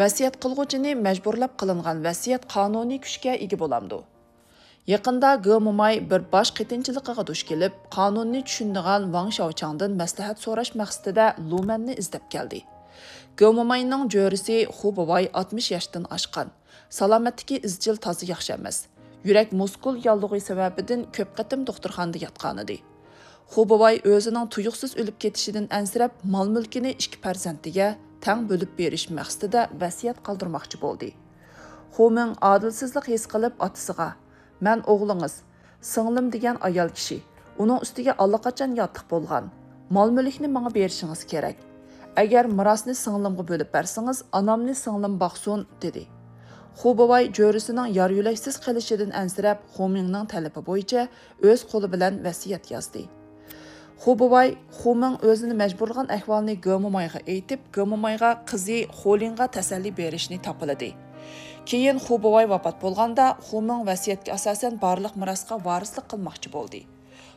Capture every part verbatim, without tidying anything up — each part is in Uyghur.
ۋەسىيەت قىلغۇچىنى مەجبۇرلاپ قىلىنغان ۋەسىيەت قانۇنىي كۈچكە ئىگە بولامدۇ؟ يېقىندا گې موماي بىر باش قېتىنچىلىقىغا دۇچ كېلىپ، قانۇننى چۈشىنىدىغان ۋاڭ شياۋچاڭدىن مەسلىھەت سوراش مەقسىتىدە لۇمەننى ئىزدەپ كەلدى. گې موماينىڭ جۆرىسى خۇ بوۋاي ئاتمىش ياشتىن ئاشقان، سالامەتلىكى ئىزچىل تازا ياخشى ئەمەس، يۈرەك مۇسكۇل ياللۇغى سەۋەبىدىن كۆپ قېتىم دوختۇرخانىدا ياتقانىدى. خۇ بوۋاي ئۆزىنىڭ تۇيۇقسىز ئۆلۈپ كېتىشىدىن ئەنسىرەپ، مال-مۈلكىنى ئىككى پەرزەنتىگە تەڭ بۆلۈپ بېرىش مەقسىتىدە ۋەسىيەت قالدۇرماقچى بولدى. خۇ مىڭ ئادىلسىزلىق ھېس قىلىپ ئاتىسىغا، مەن ئوغلىڭىز، سىڭلىم دېگەن ئايال كىشى، ئۇنىڭ ئۈستىگە ئاللىقاچان ياتلىق بولغان، مال-مۈلۈكنى ماڭا بېرىشىڭىز كېرەك. ئەگەر مىراسنى سىڭلىمغا بۆلۈپ بەرسىڭىز، ئانامنى سىڭلىم باقسۇن، دېدى. خۇ بوۋاي جۆرىسىنىڭ يار-يۆلەكسىز قېلىشىدىن ئەنسىرەپ، خۇ مىڭنىڭ تەلىپى بويىچە ئۆز قولى بىلەن ۋەسىيەت يازدى. خۇ بوۋاي خۇ مىڭ ئۆزىنى مەجبۇرلىغان ئەھۋالنى گې مومايغا ئېيتىپ، گې مومايغا قىزى خولىڭغا تەسەللى بېرىشنى تاپىلىدى. كېيىن خۇ بوۋاي ۋاپات بولغاندا، خۇ مىڭ ۋەسىيەتكە ئاساسەن بارلىق مىراسقا ۋارىسلىق قىلماقچى بولدى.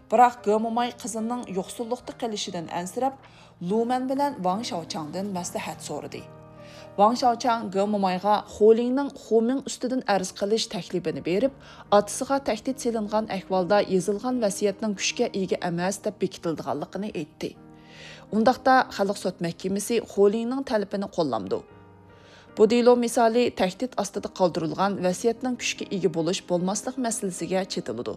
بىراق گې موماي قىزىنىڭ يوقسۇللۇقتا قېلىشىدىن ئەنسىرەپ، لۇمەن بىلەن ۋاڭ شياۋچاڭدىن مەسلىھەت سورىدى. ۋاڭ شياۋچاڭ گې مومايغا خولىڭنىڭ خۇ مىڭ ئۈستىدىن ئەرز قىلىش تەكلىپىنى بېرىپ، ئاتىسىغا تەھدىت سېلىنغان ئەھۋالدا يېزىلغان ۋەسىيەتنىڭ كۈچكە ئىگە ئەمەس دەپ بېكىتىلىدىغانلىقىنى ئېيتتى. ئۇنداقتا خەلق سوت مەھكىمىسى خولىڭنىڭ تەلىپىنى قوللامدۇ؟ بۇ دېلو مىسالى تەھدىت ئاستىدا قالدۇرۇلغان ۋەسىيەتنىڭ كۈچكە ئىگە بولۇش، بولماسلىق مەسىلىسىگە چېتىلىدۇ.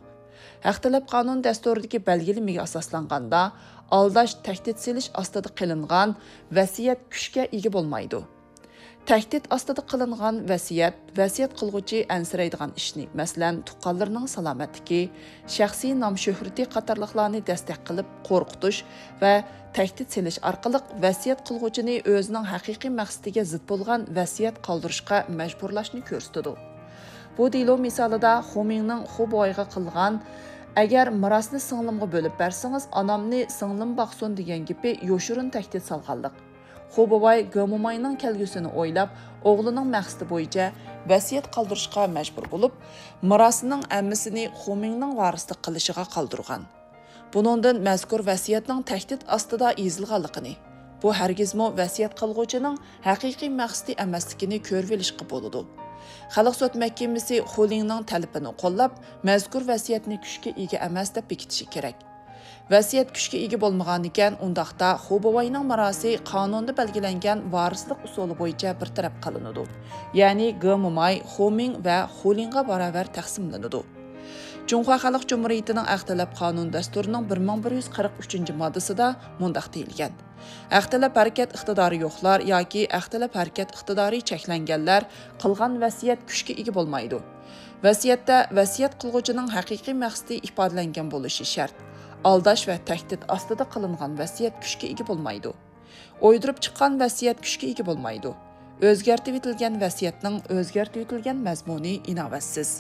ھەق تەلەپ قانۇن دەستۇرىدىكى بەلگىلىمىگە ئاساسلانغاندا، ئالداش، تەھدىت سېلىش ئاستىدا قىلىنغان ۋەسىيەت كۈچكە ئىگە بولمايدۇ. تەھدىت ئاستىدا قىلىنغان ۋەسىيەت، ۋەسىيەت قىلغۇچى ئەنسىرەيدىغان ئىشنى، مەسىلەن، تۇغقانلىرىنىڭ سالامەتلىكى، شەخسىي نام-شۆھرىتى قاتارلىقلارنى دەستەك قىلىپ قورقۇتۇش ۋە تەھدىت سېلىش ئارقىلىق ۋەسىيەت قىلغۇچىنى ئۆزىنىڭ ھەقىقىي مەقسىتىگە زىت بولغان ۋەسىيەت قالدۇرۇشقا مەجبۇرلاشنى كۆرسىتىدۇ. بۇ دېلو مىسالىدا خۇ مىڭنىڭ خۇ بوۋايغا قىلغان، ئەگەر مىراسنى سىڭلىمغا بۆلۈپ بەرسىڭىز، ئانامنى سىڭلىم باقسۇن دېگەن گېپى يوشۇرۇن تەھدىت سالغانلىق. خۇ بوۋاي گې موماينىڭ كەلگۈسىنى ئويلاپ، ئوغلىنىڭ مەقسىتى بويىچە ۋەسىيەت قالدۇرۇشقا مەجبۇر بولۇپ، مىراسنىڭ ھەممىسىنى خۇ مىڭنىڭ ۋارىسلىق قىلىشىغا قالدۇرغان. بۇنىڭدىن مەزكۇر ۋەسىيەتنىڭ تەھدىت ئاستىدا يېزىلغانلىقىنى، بۇ ھەرگىزمۇ ۋەسىيەت قىلغۇچىنىڭ ھەقىقىي مەقسىتى ئەمەسلىكىنى كۆرۈۋېلىشقا بولىدۇ. خەلق سوت مەھكىمىسى خۇلىڭنىڭ تەلىپىنى قوللاپ، مەزكۇر ۋەسىيەتنى كۈچكە ئىگە ئەمەس دەپ بېكىتىشى كېرەك. ۋەسىيەت كۈچكە ئىگە بولمىغانىكەن، ئۇنداقتا خۇ بوۋاينىڭ مىراسى قانۇندا بەلگىلەنگەن ۋارىسلىق ئۇسۇلى بويىچە بىر تەرەپ قىلىنىدۇ. يەنى گې موماي، خۇ مىڭ ۋە خۇلىڭغا باراۋەر تەقسىملىنىدۇ. جۇڭخۇا خەلق جۇمھۇرىيىتىنىڭ ھەق تەلەپ قانۇن دەستۇرىنىڭ بىر مىڭ بىر يۈز قىرىق ئۈچىنچى ماددىسىدا مۇنداق دېيىلگەن: ھەق تەلەپ ھەرىكەت ئىقتىدارى يوقلار ياكى ھەق تەلەپ ھەرىكەت ئىقتىدارى چەكلەنگەنلەر قىلغان ۋەسىيەت كۈچكە ئىگە بولمايدۇ. ۋەسىيەتتە ۋەسىيەت قىلغۇچىنىڭ ھەقىقىي مەقسىتى ئىپادىلەنگەن بولۇشى شەرت. ئالداش ۋە تەھدىت ئاستىدا قىلىنغان ۋەسىيەت كۈچكە ئىگە بولمايدۇ. ئويدۇرۇپ چىققان ۋەسىيەت كۈچكە ئىگە بولمايدۇ. ئۆزگەرتىۋېتىلگەن ۋەسىيەتنىڭ ئۆزگەرتىۋېتىلگەن مەزمۇنى ئىناۋەتسىز.